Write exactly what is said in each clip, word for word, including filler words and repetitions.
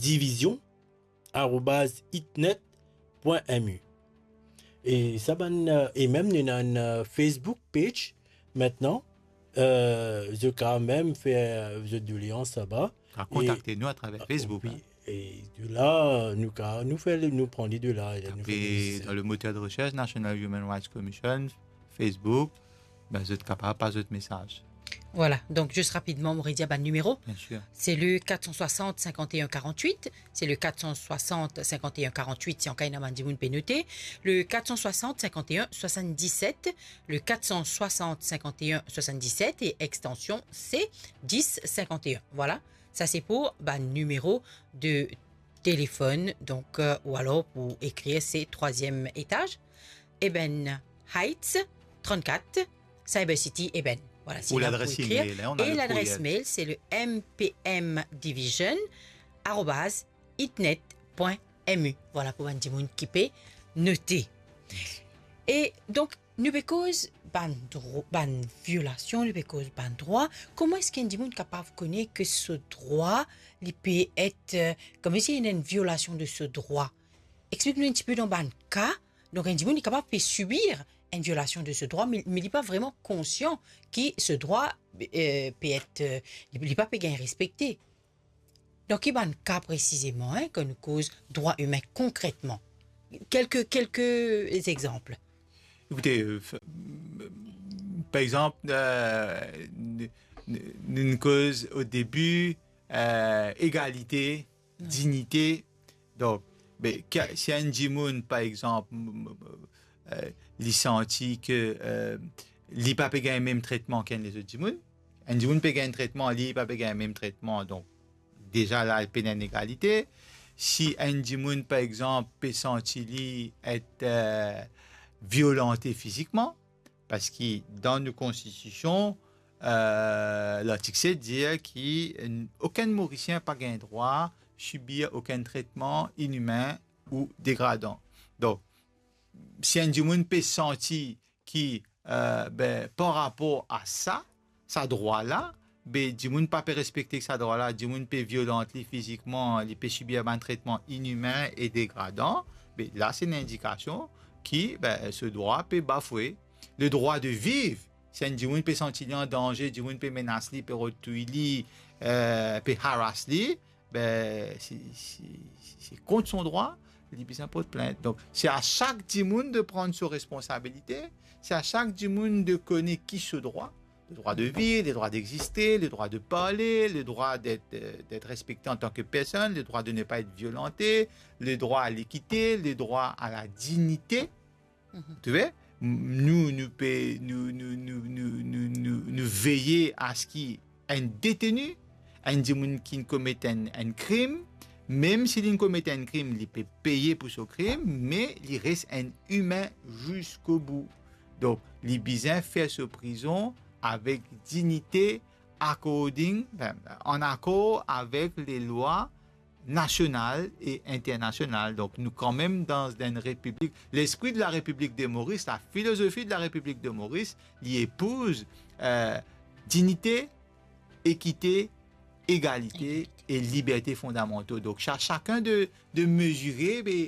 division arobaz itnet pwin M U. E sa bann, euh, e mem nou ena enn, euh, Facebook page mintnan. Euh, zot kapav mem fer, euh, zot doleans laba. Kapav kontakte nou atraver Facebook, wi, hein. E de la, nou ka, nou fer, nou pran li de la, nou fer... Apre, dan le moteur de recherche, National Human Rights Commission, Facebook, ben, zot kapav pas zot mesaz. Voilà, donk zis rapidman, mo redir bann nimero. Bien sûr. C'est le quatre cent soixante, cinquante et un, quarante-huit. C'est le quatre cent soixante, cinquante et un, quarante-huit, si an ka ena bann dimoun pe note. Le quatre cent soixante, cinquante et un, soixante-dix-sept. Le quatre cent soixante, cinquante et un, soixante-dix-sept et extension c'est dix cinquante et un. Voilà, sa se pou bann nimero de téléphone, donk, euh, ou alor pou ekrir se troisième étage, Eben Heights, trente-quatre, Cyber City, Eben. Voilà, c'est là pour écrire. Ou ladres email, hein, on a le courriel. Et l'adresse mail, c'est le M P M division arobase itnet pwin M U. Voilà, pou bann dimoun ki pe note. E donk, nou pe koz bann dro-, bann violasion, nou pe koz bann drwa. Kouma eski enn dimoun kapav kone ke so drwa, li pe et, euh, kouma si ena enn violasion de so drwa? Explik nou enn tipe dan bann ka. Donk, enn dimoun, li kapav pe sibir enn violasion de so drwa, me, me li pa vreman konsian ki so drwa, euh, pe et, euh, li, li pa pe gagn respekte. Dan ki bann ka presizeman, hein, kan nou koz drwa imin konkretman? Kelke, kelke exanp. Ekoute, euh, f-, par exanp, euh, n-, n-, n-, nou koz o debi, euh, egalite, wi, dignite. Donk, be, ki-, si enn dimoun, par exanp, m-, m-, euh, li santi ke, euh, li pa pe gagn mem tretman ki enn lezot dimoun, enn dimoun pe gagn tretman, li pa pe gagn mem tretman, donk deza la, pena enn egalite. Si enn dimoun, par exanp, pe santi li et, euh, violante fizikman, parski dan nou konstitision, euh, lartik set dir ki n-, okenn Morisien pa gagn drwa sibir okenn tretman inimin ou degradan. Donk, si enn dimoun pe santi ki, euh, be, par rapor a sa, sa drwa la, be, dimoun pa pe respekte sa drwa la, dimoun pe violant li fizikman, li pe sibir bann tretman inimin e degradan, be, la, se enn indikasion ki, be, so drwa pe bafwe. Le droit de vivre, si enn dimoun pe santi li an danze, dimoun pe menas li, pe rod touy li, euh, pe harass li, be, se, se, se kont so drwa, li bizin port plint. Donk, se a sak dimoun de pran so responsabilite, se a sak dimoun de kone ki so drwa. Le droit de vivre, le droit d'exister, le droit de parler, le droit d'être, euh, d'être respecté en tant que personne, le droit de ne pas être violenté, le droit à l'équité, le droit à la dignité. Mhm. Tu vois? M-, nou, nou pe, nou, nou veye a se ki enn deteni, enn dimoun ki komet enn, enn krim, mem si li komet enn krim, li pe peye pou so krim, me li res enn imin ziska bou. Donk, li bizin fer so prizon avek dignite, according, ben, an akor avek lalwa nasional e internasional. Donk, nou kanmem dan enn repiblik. Lespri de la République de Maurice, la philosophie de la République de Maurice, li epouz, euh, dignite, ekite, egalite e liberte fondamantal. Donk, sa, sakenn de, de mezire, be,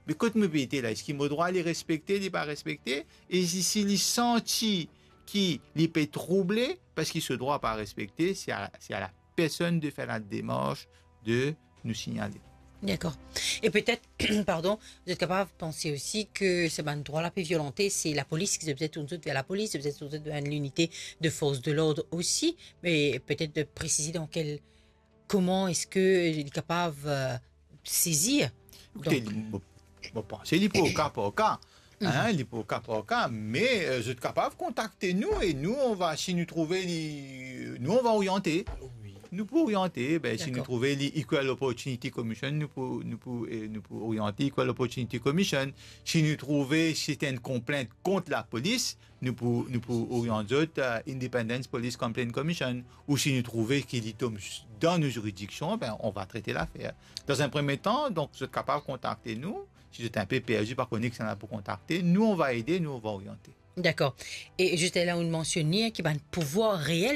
be kot mo pe ete la, eski mo drwa li respekte, li pa respekte, e si, si li santi ki li pe trouble, parski so drwa pa respekte, se a, se a la personn de fer la demars de nou signale. Dakor. E petet, pardon, zot kapav panse osi ke se bann drwa la pe violante, se lapolis, ki zot bizin tourn zot ver lapolis, zot bizin tourn zot ver linite de force de l'ordre osi, me petet de presize dan kel, kouma eski li kapav, euh, sezir. Ekoute, donk, li, mo, mo panse li pou o ka par ka. Hein, mhm, li pou o ka par ka, me, euh, zot kapav kontakte nou e nou, on va, si nou trouve li, nou, on va oriente. Wi. Nou pou oriente, be, si nou, dakor, trouve li Equal Opportunity Commission, nou pou, nou pou, e nou pou oriente Equal Opportunity Commission. Si nou trouve se enn konplint kont lapolis, nou pou, nou pou oriant zot, euh, Independent Police Complaint Commission, ou si nou trouve ki li tom s-, dan nou ziridiksion, be, on va trete lafer. Dan enn premie tan, donk, zot kapav kontakte nou. Si zot enpe perdi, pa kone kisannla pou kontakte, nou, on va ede, nou, on va oriante. Dakor. E zis la, ou mansione ki bann pouvwar reel